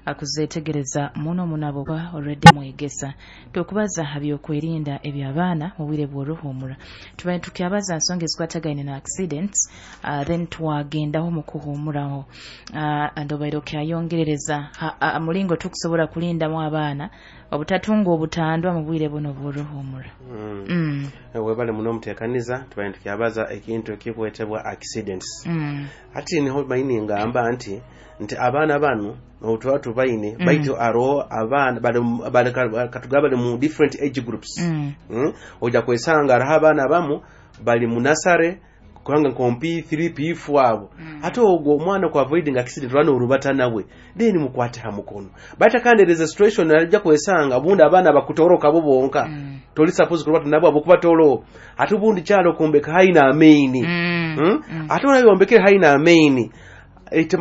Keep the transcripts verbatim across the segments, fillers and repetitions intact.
Akuzetegereza muno muno abo ba already mwegesa. Tukubaza ha byokwerinda eby'abaana mu bwire bw'oruhumura. Tubaye tukyabaza nsonga ezikwatagaine na accidents, uh, then twagendaho mu kuhumuraho, uh, ndobaire okyayongerereza ha- ha- mulingo tukusobola kulindamu abaana obutatunga obutandwa mu bwire buno bw'oruhumura. Mm. mm. Webale muno omuteekaniza. Tubaye tukyabaza ekintu ekikwetebwa accidents. Mm. Ati niho maini ngamba nti nti abaana bano otuba tubaine mm. baitu aroho abaana bali bali katugabe bali mu different age groups. Mm. Mm? Ojja kwesanga hariho abaana bamu bali mu nursery, kubanga nko P three P four abo mm. Ate ogwo omwana ku avoiding accident lwana orubata nawe, then mukwate ha mukono. But kandi there is a situation ajja kwesanga obundi abaana bakutoroka bo bonka mm. Toli suppose kurubata nabo abokuba tolo, ate obundi kyalo kumbeka haina amaini. Mm. Mm? Mm. Ate olayombekere haina amaini,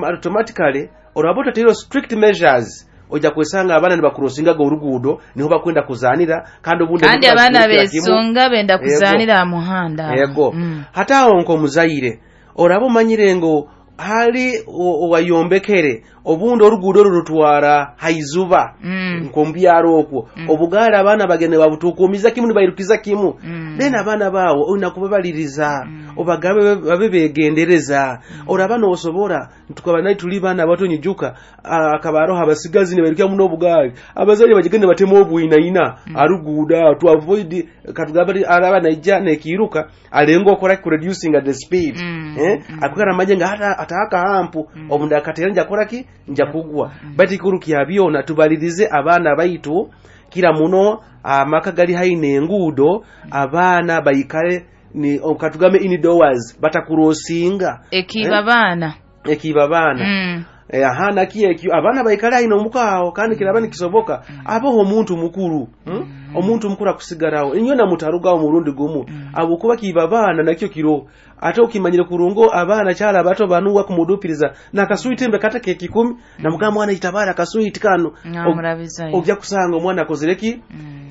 automatically olwaba otateire strict measures, ojja kwesanga abaana nibakurosingaga oruguudo, niho bakwenda kuzanira, kandi obundi kandi emotoka abaana zigurukira kimu. Besunga benda Yego. Kuzanira aha muhanda. Yego. Mm. Hate awo nk'omuzaire oraba omanyire ngu hali o- owayombekere obundi oruguudo oru rutwara haizuba Mm. nkomubyaro okwo obugaali abaana bagende babutukumiza kimu, nibairukiza kimu. Mm. Then abaana baawo olina kubabaliriza, obagabe babe begendereza. Oraba nosobora tukaba naye tuli baana bato, nyijuka akaba aroho abasigazi nibairukira muno obugaali, abazaire bagende batema obwinaina aruguudo to avoid katugabe araba naija nekiiruka alenga okora reducing the speed. Mm. Eh, akukara amanye nga hata ataka hampu obundi akatera nja kora ki, nja kugwa. But ikuru kya byona, tubalirize abaana baitu kira muno amaka gali haine enguudo, abaana baikale ni katugambe indoors, batakurosinga. Ekiba baana. Ekiba baana. Mm. Eh, aha, naki ekyo abaana baikale haine omukaawo, kandi kiraba nikisoboka abaho omuntu mukuru, hmm? Omuntu mukuru akusigarawo inyo namutarugawo murundi gumu abo kuba kiba baana nakyo kiro. Ate okimanyire kurungo abaana kyala abato banuwa kumudupiriza nakaswiti mbe kata kekikumi namugamba, "Mwana, itabara akaswiti kano." Namurabizayo. Ojja kusanga omwana akozere ki.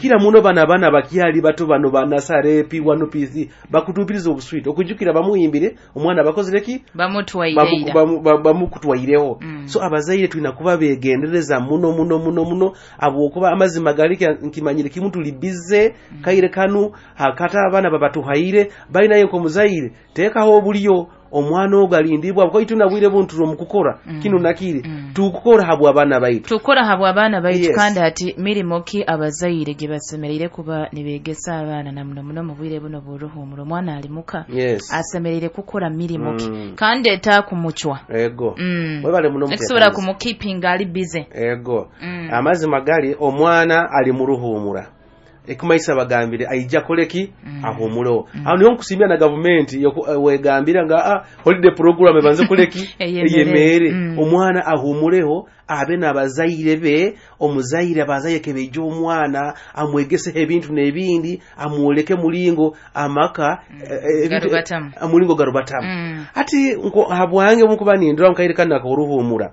Kira muno bano abaana bakyali bato bano banasare P one P three bakutupiriza obuswiti, okujukira bamuyimbire omwana bakozere ki. Bamutwaire. Bamu- bamu- bamukutwaireho. Mm. So abazaire tulina kuba begendereza muno muno muno muno, abwokuba amazima gali kya- nkimanyire kimu tuli bize kaire kanu hakata abaana babatuhaire balinayo. Nkomuzaire teekaho obulyo omwana ogwo alindibwa koitu nabwire buntu omukukora kino nakiri tukukora habwa abaana baitu. Tukora habwa abaana baitu. Yes. Kandi ati mirimo ki abazaire gye basemereire kuba nibegesa abaana, na muno muno mu bwire buno bw'oruhumuro omwana ali muka? Yes. Asemereire kukora mirimo ki Mm. kandi etakumucwa? Ego. Mm. Webale muno. Ekusobola muteekaniza. kumukipinga ali busy. Ego. Mm. Amazima gali omwana ali mu ruhumura, ekumaisa bagambire aija koleki mm. ahumuleho mm. Aho niho nkusimbira na gavumenti yoku- eh, wegambira nga ah, holiday program ebanze koleki. Eyemere. Eyemere. Mm. Omwana ahumuleho, abe n'abazaire be, omuzaire abazaire kebeija omwana amwegeseho ebintu n'ebindi, amwoleke mulingo amaka eh, eh, ebintu- Garubatamu. eh, mulingo garubatamu. Mm. Ati nko habwange mukuba nindura mukaire kano ak'oruhumura,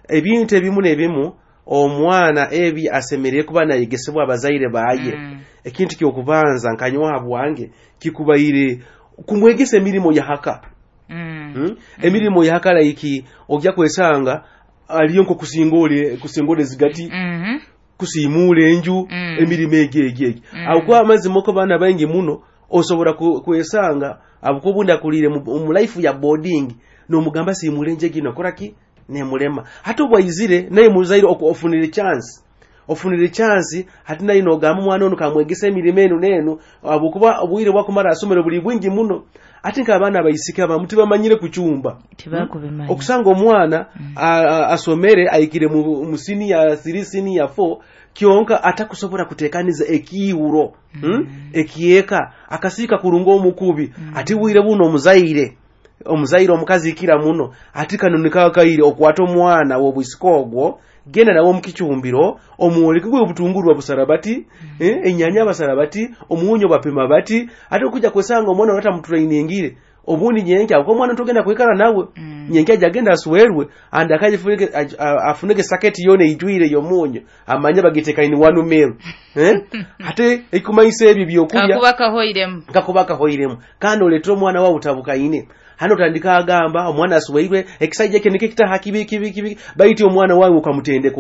ebintu ebimu n'ebimu omwana ebi asemerere kuba nayegesebwa abazaire baye. Mm. Ekintu kyokubanza nkanywa habwange kikubaire kumwegesa emirimu yahaka. Mm. Hmm? Emirimu yahaka like ojja kwesanga aliyo nko kusingole kusingole zigati, Mhm. kusiimuula enju. Mm. Emirimu egyo egyo egyo Mm. awo kuba amazima oko baana baingi muno osobola ku- kwesanga abuko obundi akuliire mu mu life ya boarding, nomugamba siimula enju egino koraki nemulema. Ate obwaizire naye muzaire oku- ofunire chance ofunire chance ate naye nogamba omwana ono kamwegesa emirimu enu nenu, abukuba obwire bwakumara asomero buli bwingi muno. Ate nk'abaana abaisiki abamu tibamanyire kucumba. Tibakubimanya. Okusanga omwana a- a- asomere ayikire mu, mu senior three, senior four, kyonka atakusobola kutekaniza ekiiwuro mm. ekieka akasiika kurunga omukubi. Ati bwire buno omuzaire omuzaire omukazi ikira muno ati kano nikakaire okwata omwana w'obwisika ogwo, genda nawe omukicumbiro omwoleke gwe obutunguru babusara bati, eh, enyanya basara bati, omunyo bapima bati. Ate okujja kwesanga omwana watamutrainingire obundi nyenkya ako omwana togenda kwikara nawe Mm. nyenkya ajagenda aswerwe and akajifunike aj- a- afunike saketi yona ijwire yomunyo, amanye bagiteka in one meal, eh? Ate ekumaisa ebyo byokulya kakuba kahoiremu. Kakuba kahoiremu, kandi oleetera omwana wawe utabukaine hano otandika agamba omwana asweirwe ekisajja ekyo nikyo kitaha kibi kibi kibi, baiti omwana wawe ukamutendeka.